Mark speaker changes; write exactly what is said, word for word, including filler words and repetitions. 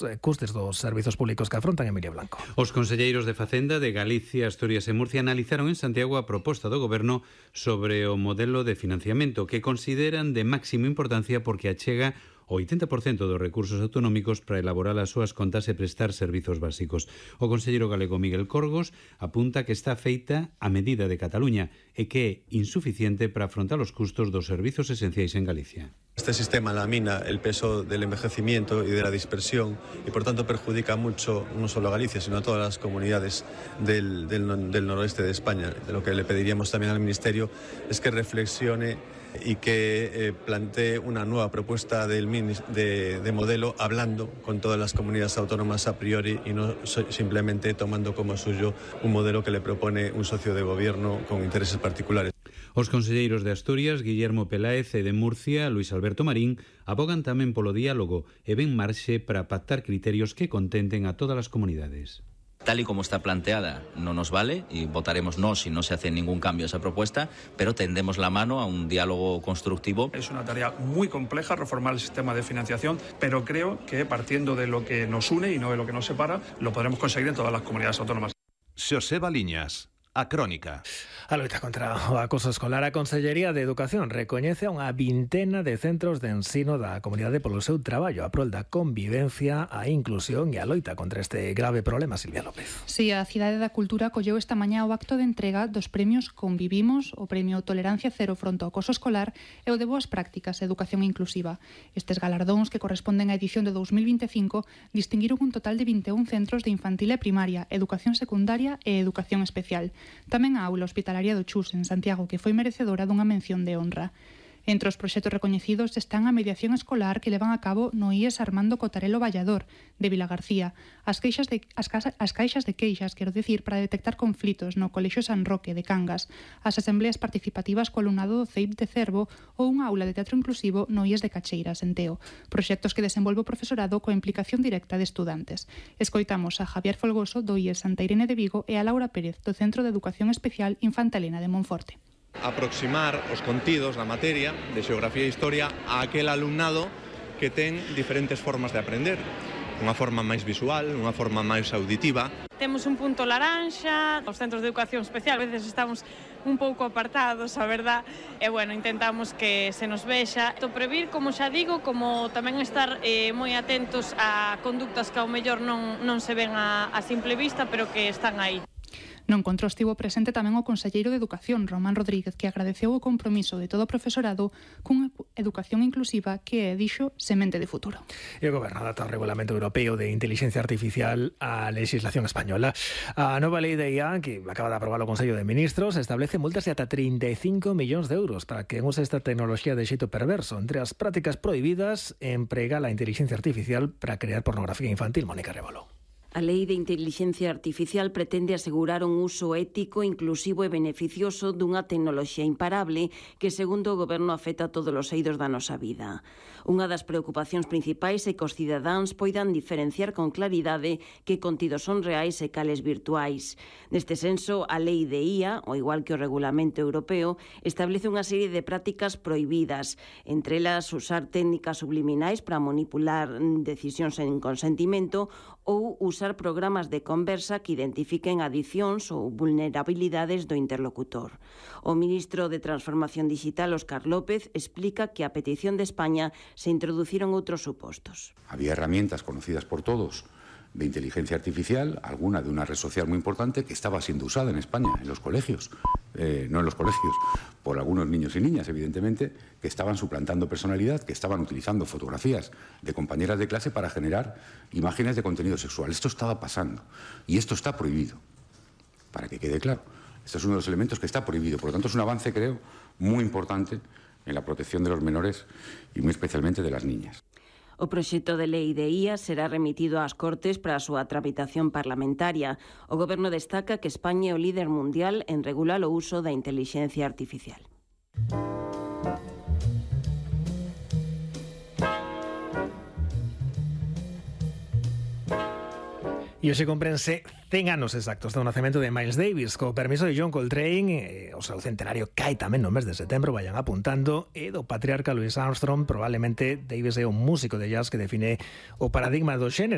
Speaker 1: os custes dos servizos públicos que afrontan. Emilio Blanco.
Speaker 2: Os conselleiros de Facenda de Galicia, Asturias e Murcia analizaron en Santiago a proposta do Goberno sobre o modelo de financiamento que consideran de máxima importancia porque achega o oitenta por cento dos recursos autonómicos para elaborar as súas contas e prestar servizos básicos. O conselleiro galego Miguel Corgos apunta que está feita a medida de Cataluña e que é insuficiente para afrontar os custos dos servizos esenciais en Galicia.
Speaker 3: Este sistema lamina el peso del envejecimiento y de la dispersión y por tanto perjudica mucho no solo a Galicia sino a todas las comunidades del, del, del noroeste de España. De lo que le pediríamos también al Ministerio es que reflexione y que eh, plantee una nueva propuesta del, de, de modelo hablando con todas las comunidades autónomas a priori y no so, simplemente tomando como suyo un modelo que le propone un socio de gobierno con intereses particulares.
Speaker 2: Os conselleiros de Asturias, Guillermo Peláez, e de Murcia, Luis Alberto Marín, abogan tamén polo diálogo e ven marxe para pactar criterios que contenten a todas as comunidades.
Speaker 4: Tal y como está planteada no nos vale y votaremos no si no se hace ningún cambio a esa propuesta, pero tendemos la mano a un diálogo constructivo.
Speaker 5: Es una tarea muy compleja reformar el sistema de financiación, pero creo que partiendo de lo que nos une y no de lo que nos separa, lo podremos conseguir en todas las comunidades autónomas.
Speaker 6: Xoseba Liñas, A Crónica.
Speaker 1: A loita contra o acoso escolar, a Consellería de Educación recoñece a unha vintena de centros de ensino da comunidade polo seu traballo a prol da convivencia, a inclusión e a loita contra este grave problema. Silvia López.
Speaker 7: Si, sí, a Cidade da Cultura colleu esta mañá o acto de entrega dos premios Convivimos, o premio Tolerancia Cero fronte ao acoso escolar e o de Boas Prácticas e Educación Inclusiva. Estes galardóns, que corresponden á edición de dous mil vinte e cinco, distinguiron un total de vinte e un centros de infantil e primaria, educación secundaria e educación especial. Tamén a aula hospitalaria do Chus, en Santiago, que foi merecedora dunha mención de honra. Entre os proxectos recoñecidos están a mediación escolar que levan a cabo no I E S Armando Cotarelo Vallador, de Vilagarcía, as, queixas de, as, casa, as caixas de queixas, quero decir, para detectar conflitos no Colexio San Roque, de Cangas, as asembleas participativas co alumnado do C E I P de Cervo ou unha aula de teatro inclusivo no I E S de Cacheiras, en Teo, proxectos que desenvolve o profesorado coa implicación directa de estudantes. Escoitamos a Javier Folgoso, do I E S Santa Irene de Vigo, e a Laura Pérez, do Centro de Educación Especial Infanta Elena de Monforte.
Speaker 8: Aproximar os contidos da materia de xeografía e historia a aquel alumnado que ten diferentes formas de aprender, unha forma máis visual, unha forma máis auditiva.
Speaker 9: Temos un punto laranxa, os centros de educación especial, a veces estamos un pouco apartados, a verdad, e bueno, intentamos que se nos vexa. To previr, como xa digo, como tamén estar eh, moi atentos a conductas que ao mellor non, non se ven a, a simple vista, pero que están aí.
Speaker 7: No encontro estivo presente tamén o conselleiro de Educación, Román Rodríguez, que agradeceu o compromiso de todo o profesorado cunha educación inclusiva que é, dixo, semente de futuro.
Speaker 1: E o Goberno adapta o Regulamento Europeo de Inteligencia Artificial á legislación española. A nova lei de I A, que acaba de aprobar o Consello de Ministros, establece multas de ata trinta e cinco millóns de euros para que use esta tecnoloxía de xeito perverso. Entre as prácticas prohibidas, emprega a inteligencia artificial para crear pornografía infantil. Mónica Rebolo.
Speaker 10: A Lei de Inteligencia Artificial pretende asegurar un uso ético, inclusivo e beneficioso dunha tecnoloxía imparable que, segundo o Goberno, afecta a todos os eidos da nosa vida. Unha das preocupacións principais é que os cidadáns poidan diferenciar con claridade que contidos son reais e cales virtuais. Neste senso, a Lei de I A, ao igual que o Regulamento Europeo, establece unha serie de prácticas prohibidas, entre elas usar técnicas subliminais para manipular decisións en consentimento ou usar programas de conversa que identifiquen adicións ou vulnerabilidades do interlocutor. O ministro de Transformación Digital, Óscar López, explica que a petición de España se introduciron outros supostos.
Speaker 11: Había herramientas conocidas por todos de inteligencia artificial, alguna de una red social muy importante que estaba siendo usada en España, en los colegios, eh, no en los colegios, por algunos niños y niñas, evidentemente, que estaban suplantando personalidad, que estaban utilizando fotografías de compañeras de clase para generar imágenes de contenido sexual. Esto estaba pasando y esto está prohibido, para que quede claro. Este es uno de los elementos que está prohibido. Por lo tanto, es un avance, creo, muy importante en la protección de los menores y muy especialmente de las niñas.
Speaker 10: O proxecto de lei de I A será remitido ás Cortes para a súa tramitación parlamentaria. O Goberno destaca que España é o líder mundial en regular o uso da intelixencia artificial.
Speaker 1: E hoxe comprense cen anos exactos do nacemento de Miles Davis. Co permiso de John Coltrane, eh, o seu centenario cae tamén no mes de setembro, vayan apuntando, e do patriarca Louis Armstrong, probablemente Davis é un músico de jazz que define o paradigma do xénero.